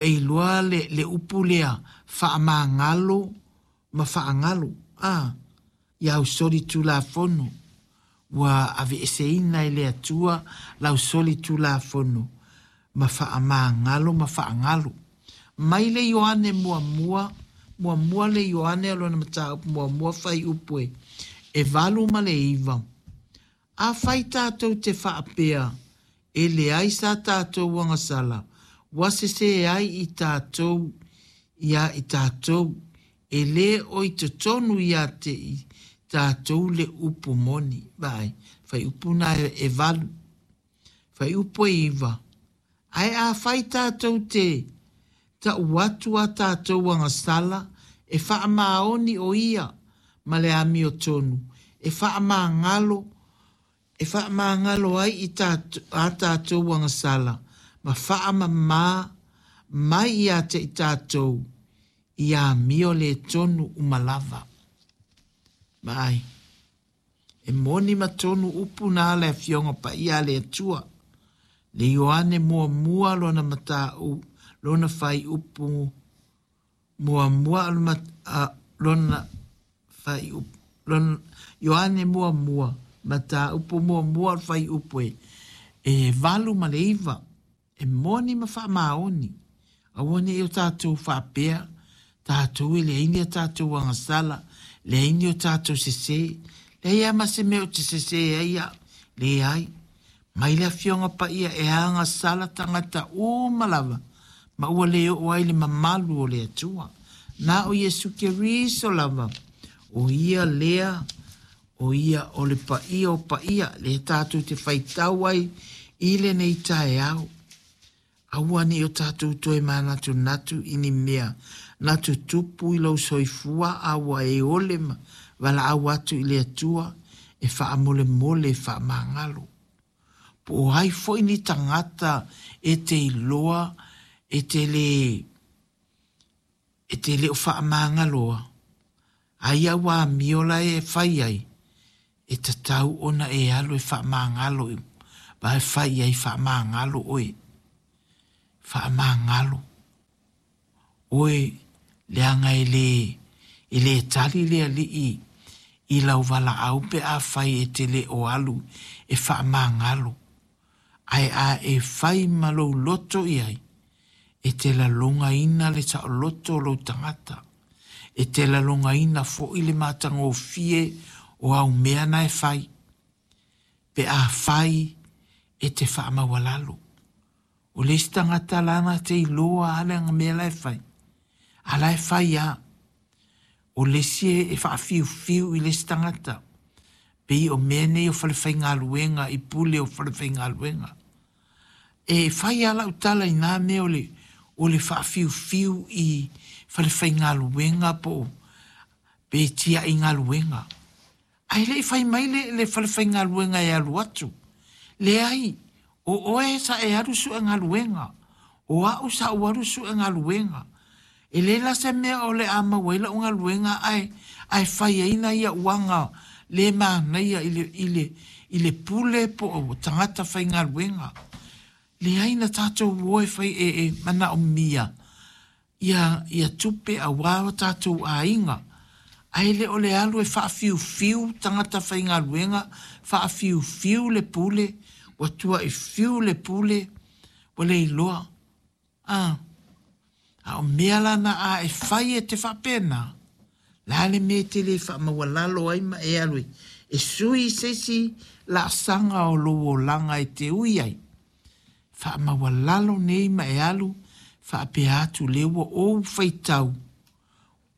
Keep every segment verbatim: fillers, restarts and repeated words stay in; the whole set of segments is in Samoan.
E iloa le, le upu lea faamagalo ma faagalu a ia au soli tulafono ua aveeseina e le Atua lau soli tulafono ma faamagalo ma faagalu. Mai le Ioane muamua, muamua le Ioane o lona mataupu muamua fuaiupu e e valu ma le iva. Afai tatou te faapea e leai sa tatou agasala, ua sesē ai i tatou ia i tatou, e lē o i totonu ia te i tatou le upu moni. Vaai, fuaiupu na e valu. Fuaiupu e iva. Ae afai tatou te ta'u atu a tatou agasala, e faamaoni o ia ma le amiotonu e faamagalo e faamagalo ai i tatou, a tatou agasala ma faamamā mai ia te i tatou i amio le tonu uma lava. Vaai, e moni ma tonu upu na le afioga paia a le Atua. Le Ioane muamua lona matau lona fuaiupu muamua lona fuaiupu lona Ioane muamua mataupu muamua o le fuaiupu e e valu ma le iva. E moni ma faamaoni. Aua ne i o tatou faapea tatou e leai ni a tatou agasala, leai ni o tatou sesē, leai lava ma se mea ou te sesē ai au, leai. Mai le afioga paia e agasala tagata uma lava ma ua le oo ai le mamalu o le Atua. Na o Iesu Keriso lava, o ia lea, o ia o le paia o paia, lea tatou te faitau ai i lenei taeao. Aua ne i o tatou toe manatunatu i ni mea na tutupu i lou soifua a ua e ole ma valaau atu i le Atua e faamolemole e faamagalo. Po o ai foi ni tagata e te iloa e te le e te le o faamagaloa, aia ua amio la e fai ai, e tatau ona e alu e faamagalo, va e fai ai faamagalo oe. Faamagalo oe leaga e le e le tali le alii i lau valaau pe afai e te le o alu e faamagalo. Ae a e fai ma lou loto i ai, e te lalogaina le saoloto o lou tagata. E te lalogaina foi le matagofie o au mea na e fai. Pe afai e te faamaualalo. O le isi tagata lana te iloa a le mea la e fai. A la e fai a. O le isi e faafiufiu i le isi tagata. Pei o mea nei o falefaigaluega i pule o falefaigaluega. E fai a lau tala i nā mea o le, o le faafiufiu i falefaigaluega po o pe tiai galuega. Ae le i fai mai le, le falefaigaluega e alu atu. Leai, o oe sa e alu sue galuega. O au sa ou alu sue galuega. E le la se mea o le a maua ai lau galuega ae, ae fai ai na ia uaga le manaia i le, i le, i le pule po o tagata faigaluega. Leai na tatou o e fai e, e manaomia ia, ia tupe auā o tatou aiga. Ae le o le alu e faafiufiu tagata faigaluega, faafiufiu le pule, ua tuaifiu le pule, ua le iloa. Ah, a o mea la na a e fai e te faapena, la le mea e te le faamaualalo ai ma e alu e, e sui se isi laasaga o lou olaga e te ui ai. Faamaualalo nei ma e alu faapea atu lea ua ou faitau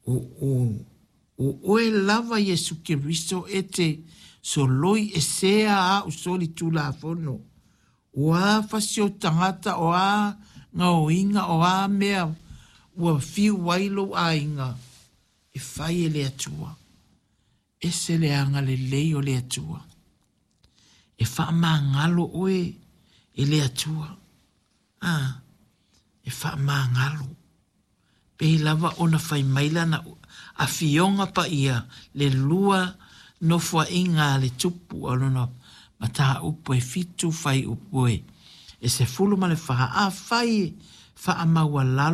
o, o, o oe lava Iesu Keriso e te soloi esea au soli tulafono. O a fasi o tagata, o a gaoiga, o a mea ua fiu ai lou aiga, e fai e le Atua. Ese le agalelei o le Atua. E faamagalo oe e le Atua. Ah, e faamagalo. Pei lava ona fai mai lana afioga paia le lua nofoaiga a le tupu o lona mataupu e fitu fuaiupu e e sefulu ma le fa. Afai e faamaualalo